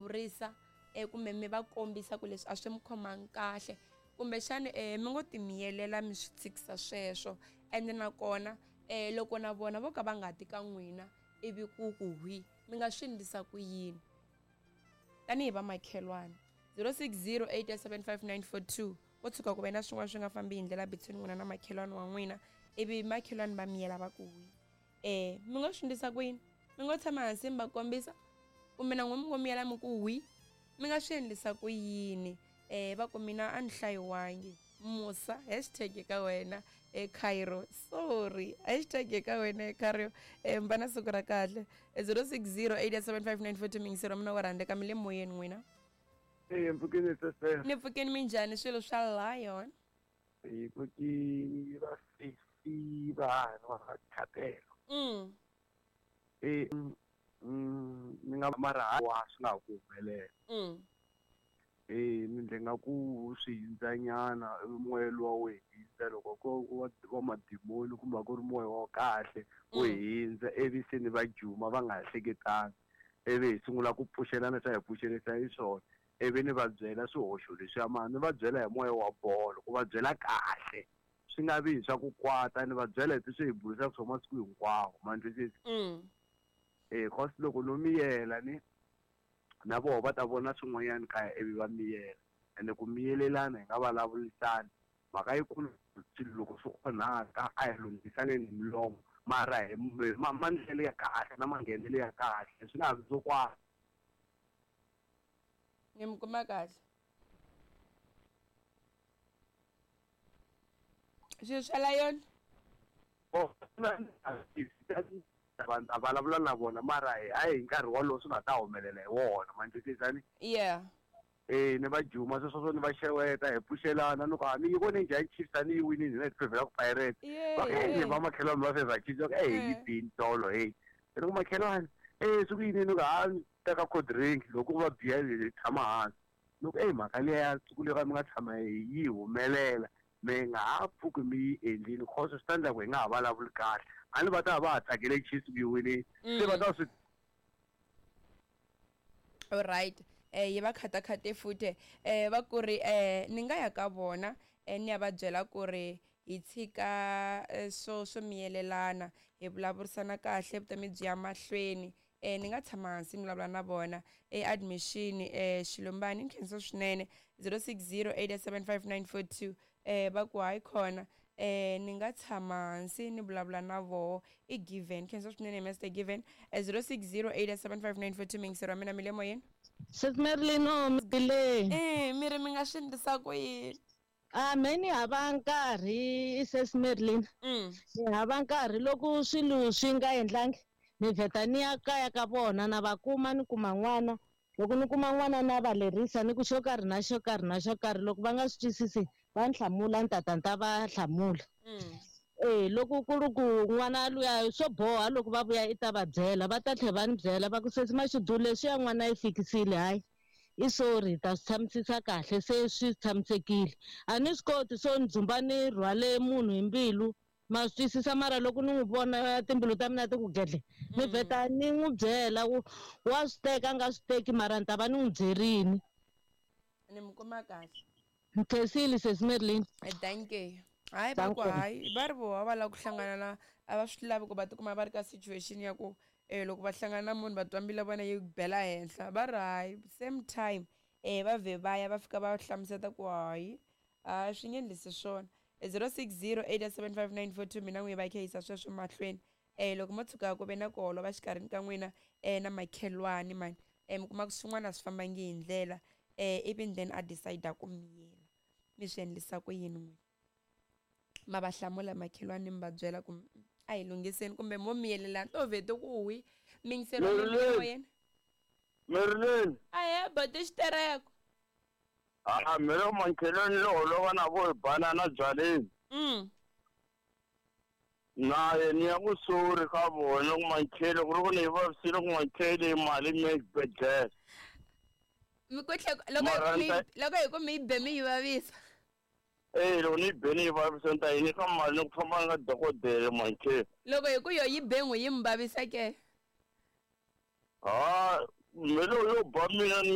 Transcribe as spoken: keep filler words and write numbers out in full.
Vurisa eh, kumbe mi va kombisa ku leswi a swi mi khomangi kahle, kumbexani eh, mi ngo timiyelela mi swi tshikisa sweswo. Ende nakona eh, loko na vona vo ka va nga ti ka n'wina ivi ku ku hwi, mi nga swi endlisa ku yini tanihi vamakhelwani? zero six zero eight seven five nine four two. Ko tshuka ku ve na swin'wana swi nga fambi hi ndlela between n'wina na makhelwani wa n'wina, ivi makhelwani va miyela va ku hwi, eh, mi ngo swi endlisa ku yini? Mi ngo tshama hansi mi va kombisa, kumbe na n'wina mi ngo miyela mi ku hwi, mi nga swi endlisa ku yini? Eh, va ku mina a ni hlayiwangi. Musa, hashtag ka wena e Cairo, sorry, hashtag ka wena e Cairo. Eh, mi va na siku ra kahle. Zero six zero eight seven five nine four two. Mingisero mina wa rhandzeka, mi le moyeni n'wina. Eh, mpfukeni sese. Ni pfukeni, minjhani swilo swa Lion? Hi pfukini va sesi va va khatelo. Mm. Eh, mm, ni nga mara wa swi nga ku humelela. Mm. Eh, ni ndle nga ku swi hindzanyana moya luwa wu hindza, loko ko wa wa madimoni kumbe ku ri moya wa kahle wu Mm. hindza, ivi se ni va juma va nga ha hleketanga, ivi hi sungula ku pfuxelana swa hi pfuxelisa hi swona, ivi ni va byela swihoxo leswiya, mara ni va byela hi moya wa bolo, ku va byela kahle swi nga vi hi swa ku kwata, ni va byela hi leswi hi burisaka swona masiku hinkwawo, ma ni twisisa? Mm. Eh, cause loko no miyela ni na voho va ta vona swin'wanyana kaya ivi va miyela, ende ku miyelelana hi nga vulavurisani mhaka yikulu, swilo loko swi onhaka a hi lunghisaneni hi milomo, mara hi maendlelo ya kahle na manghenelo ya kahle, swi nga vi swo kwata. Ni mi kuma kahle swilo swa Lion? Vanhu a vulavula na vona, mara a hi nkarhi wolowo swi nga ta humelela hi wona, ma ni twisisa ni? Yeah. Eh, ni va juma sweswo swo ni va xeweta, hi pfuxelana, ni ku a ni yi vone njhani Chiefs, a ni yi winile hina hi favor ku Pirates. Yeah, Va ku, hey, yeah. va makhelwani va favor Chiefs, va ku, hey, yi Yeah. bini tolo, hey. Ni ku makhelwani, eh, swi ku yini? Ni ku, ha, ni teka cold drink, loko va biya hi tshama hansi. Ni ku, hey, mhaka liya ya siku leri mi nga tshama yi humelela, mi nga ha pfuki mi yi endlile, cause swi ta endla ku hi nga ha vulavuli kahle. A ni va ta va ha tsakele Chiefs ku yi winile, se va ta swi. Alright, eh yi va khatakhate futhi. Eh va ku ri eh ni nga ya ka vona, eh ni ya va byela ku ri hi tshika swo swo miyelelana, hi vulavurisana kahle, vutomi byi ya mahlweni. Eh ni nga tshama hansi ni vulavula na vona. E admission eh Xilumbani, ni khensa swinene. Zero six zero eight seven five nine four two. Eh va ku hayi khona, eh ni nga tshama hansi ni vulavula na voho. I Given, khensa swinene Mister Given. Zero six zero eight seven five nine four two. Mingisero wa mina, mi le moyeni? Sis Merlin, no, mi le. Eh mi ri mi nga swi endlisa ku yini? A me ni hava nkarhi, Sis Merlin. Mm. Ni hava nkarhi loko swilo swi nga endlangi, ni vheta ni ya kaya ka vona, na va kuma, ni kuma n'wana. Loko ni kuma n'wana na va lerisa, ni ku xo karhi na xo karhi na xo karhi, loko va nga swi twisisi va ni hlamula, ni tata ni ta va hlamula. Mm. Eh, loko ku ri ku n'wana luya swo boha, loko va vuya i ta va byela, va ta tlhela va ni byela va ku sesi Mashudu leswiya n'wana yi fikisile, hayi i sorry, hi ta swi tshamisisa kahle, se swi tshamisekile. A ni swi koti swo ni dzumba ni rhwale munhu hi mbilu, ma swi twisisa, mara loko ni n'wi vona timbilu ta mina ti ku gedle, ni vheta ni n'wi byela, wa swi teka a nga swi teki, mara ni ta va ni n'wi byerini. Ni mi kuma kahle. Ni khensile Sesi Merlin. Thank you. Hayi va ku hayi, va ri voho va lava ku hlangana na, a va swi lavi ku va tikuma va ri ka situation ya ku eh loko va hlangana na munhu va twa mbilu ya vona yi bela henhla, va ri hayi same time eh va vhe va ya va fika va hlamuseta ku hayi a swi nge endlisi swona. Zero six zero eight seven five nine four two. Mina n'wi va kha yisa sweswo mahlweni. Eh loko mo tshuka ku ve na ku holova xikarhini ka n'wina eh na makhelwani mani, eh mi kuma ku swin'wana a swi fambangi hi ndlela, eh ivi then a decide ku miyela, mi swi endlisa ku yini n'wina? Ma va hlamula makhelwani mi va byela ku a hi lunghiseni, kumbe mo miyelelana to vhete ku hwi mingiselo moyeni? Merlin. Ahe boti xitereko. Ah, mina makhelwani lo holova na vo hi banana byaleni. Mm. Na ye ni ya ku sorry ka vona ku makhele ku ri ku ni yi vavisile ku makhele mali mi exibedhlele. Mi ku tlhe loko hi ku loko hi ku mi yi be mi yi vavisa. Eh, loko ni yi be ni yi vavisa ni ta yi nyika mali ni ku famba nga dokodela makhele. Loko hi ku yo yi be n'wi yi mi vavisa ke? Ha, mina yo ba mina ni